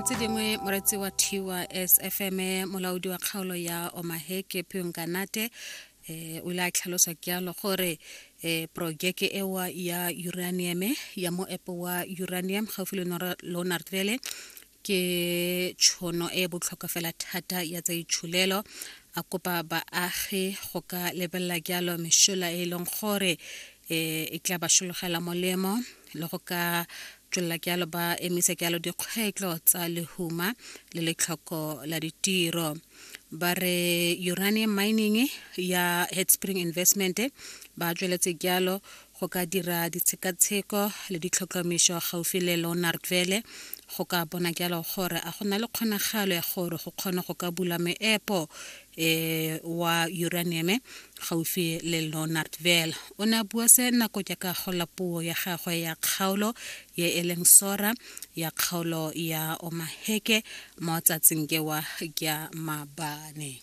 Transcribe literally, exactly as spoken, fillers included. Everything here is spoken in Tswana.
Tse dingwe, moretsi wa T Y S F M, molaodi wa kgaolo ya Omaheke Pionkanate eh o ile a tlhalosa jalo gore eh projeke ewa ya uranium ya moepo wa uranium gaufi le Leonardville ke tšhono e botlhokwa fela thata ya tsa itsholelo. A kopa baagi go ka lebelela jalo mešola e leng gore eh e tla ba sologela molemo le go ka tswelela jalo ba emisa jalo dikgwetlho tsa lehuma le letlhoko la ditiro. Ba re uranium mining ya Headspring Investment ba tsweletse jalo go ka dira ditshekatsheko le ditlhotlhomišo gaufi le Leonardville go ka bona jalo gore a go na le kgonagalo ya gore go kgone go ka bula meepo eh wa uranium gaufi le Leonardville. O ne a bua se nako jaaka go la puo ya gagwe ya kgaolo ye e leng sora ya kgaolo ya Omaheke mo tsatsing kewa kya maabane.